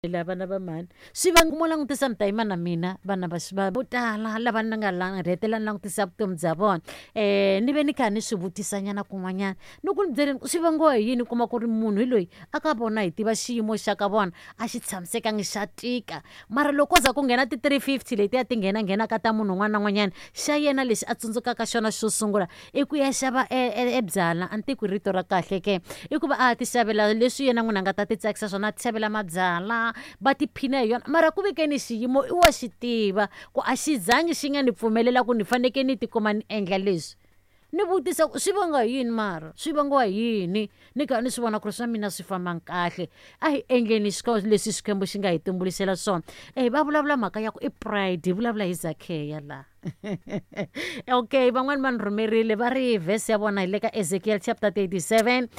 La vana va mhani swi va mo langutisa mi ta yima na mina vana va va vo tala lava ni nga la rhetela ni langutisa vutomi bya vona ni ve ni kha ni swi vutisanyana kun'wanyana ni ku ni byeleni swi vangiwa hi yini kuma ku ri munhu hi loyi a ka vona hi tiva xiyimo xa ka vona a xi tshamisekangi xa tika mara loko ko za ku nghena ti-350 letiya ti nghena nghenaka ta munhu un'wana na un'wanyana xa yena lexi a tsundzukaka xona xo sungula i ku ya xava e, e, e byala a ni tiku rito ra kahle ke i ku va a ti xavela leswi yena n'wini a nga ta ti tsakisa swona a ti xavela mabyala va tiphina hi yona mara ku vekeni xiyimo i wa xi tiva ku a xi zangi xi nga ni pfumelela ku ni fanekele ni tikuma ni endla leswi ni vutisa ku swi vanga hi yini mara swi vangiwa hi yini ni kha ni swi vona ku ri swa mina swi fambanga kahle a hi endleni leswi Xikwembu xi nga hi tumbuluxela swona e va vulavula mhaka ya ku i pride hi vulavula hi Zakheya laha okay van'wani va ni rhumerile va ri verse ya vona hi le ka Ezekiel chapter 37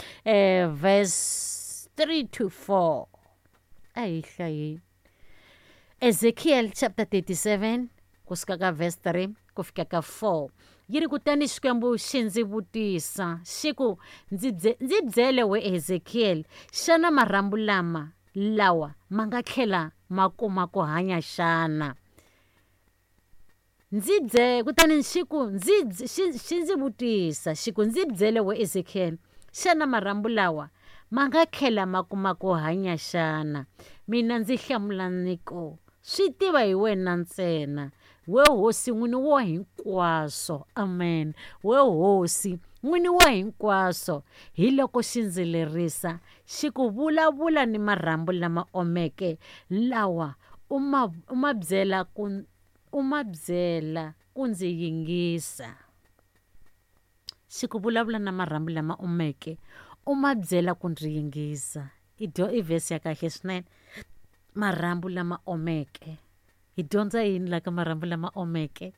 verse 3 to 4 a hi hlayeni Ezekiel chapter 37 kusuka ka verse 3 ku fika ka 4 yi ri kutani Xikwembu xi ndzi vutisa xi ku ndzi ndzi byele we Ezekiel xana marhambu lama lawa ma nga tlhela ma kuma ku hanya xana Ndzi bye, kutani xi ku, ndzi, xi, xi ndzi vutisa, xi ku, Ndzi byele, we Ezekiel, xana marhambu lawa ma nga tlhela ma kuma ku hanya xana? Mina ndzi hlamula ni ku, Swi tiva hi wena ntsena, we Hosi N'wini wa hinkwaswo. Amen. We Hosi, N'wini wa hinkwaswo. Hiloko xi ndzi lerisa, xi ku, Vulavula ni marhambu lama omeke lawa, u ma, u ma byela ku U ma byela ku ndzi yingisa. Xi ku vulavula na marhambu lama omeke, u ma byela ku ndzi yingisa. I dyo i vhesi ya kahle swinene. Marhambu lama omeke. Hi dyondza yini la ka marhambu lama omeke?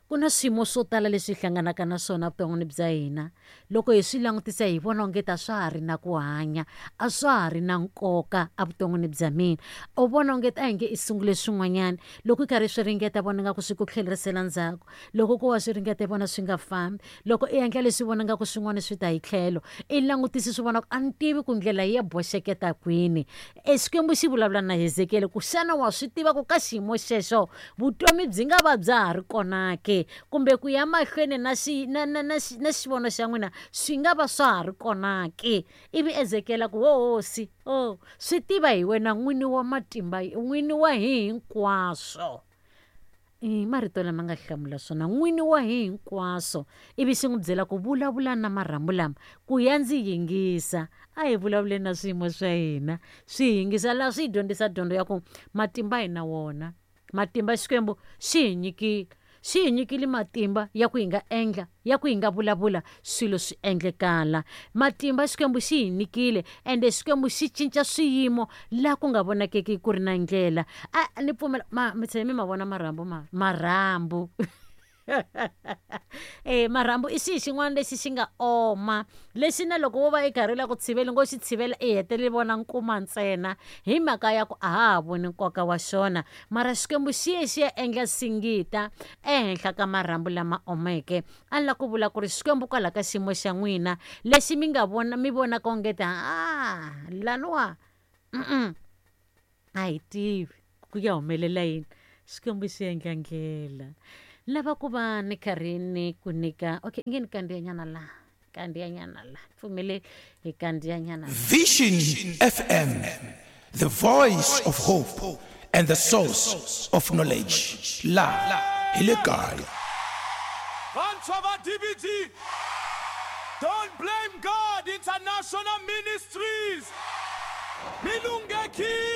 Ku na swiyimo swo tala leswi hi hlanganaka na swona evuton'wini bya hina. Loko hi swi langutisa hi vona onge a swa ha ri na ku hanya, a swa ha ri na nkoka evuton'wini bya mina. U vona onge a hi nge i sungule swin'wanyana, loko i karhi swi ringeta vona nga ku swi ku tlhelerisela ndzhaku. Loko ku wa swi ringeta i vona swi nga fambi. Loko i endla leswi vona nga ku swin'wana swi ta hi tlhelo, i langutisi swi vona ku a ni tivi ku ndlela yi ya boxeketa kwini. E Xikwembu xi vulavula na Hezekiyele ku xana wa swi tiva ku ka xiyimo xexo vutomi byi nga va bya ha ri kona ke kumbe ku ya mahlweni na xi na na na na xivono xa n'wina swi nga va swa ha ri kona ke ivi Ezekiyele a ku ho hosi o swi tiva hi wena n'wini wa matimba n'wini wa hi hinkwaswo I marito lama nga hlamula swona n'wini wa hi hinkwaswo ivi xi n'wi byela ku vulavula na marhambu lama ku ya ndzi yingisa a hi vulavuleni na swiyimo swa hina swi yingisa laha swi hi dyondzisa dyondzo ya ku matimba hi na wona matimba Xikwembu xi hi nyikile xi hi nyikile matimba ya ku hi nga endla ya ku hi nga vulavula swilo swi endlekala matimba Xikwembu xi hi nyikile ende Xikwembu xi cinca swiyimo laha ku nga vonakeki ku ri na ndlela a ni pfumela ma mi tshame mi ma vona marhambu ma marhambu e marhambu i xihi xin'wana lexi xi nga oma lexi na loko wo va i karhi u lava ku tshivela ngo xi tshivela i hetelele vona nkuma ntsena hi mhaka ya ku a ha ha voni nkoka wa xona mara Xikwembu xi ye xi ya endla singita ehenhla ka marhambu lama omeke a ni la ku vula ku ri Xikwembu kwalaho ka xiyimo xa n'wina lexi mi nga vona mi vonaka onge ta a laniwa a hi tivi ku ya humelela yini Xikwembu xi endla ndlela ni lava ku va ni karhi ni ku nyika okay nge ni kandziyanyana laha kandziyanyana la pfumele hi kandziyanyana Vision FM, the voice of hope and the source of knowledge. La hi le kaya. Vantshwa va DBG, Don't Blame God International Ministries, mi lunghekile!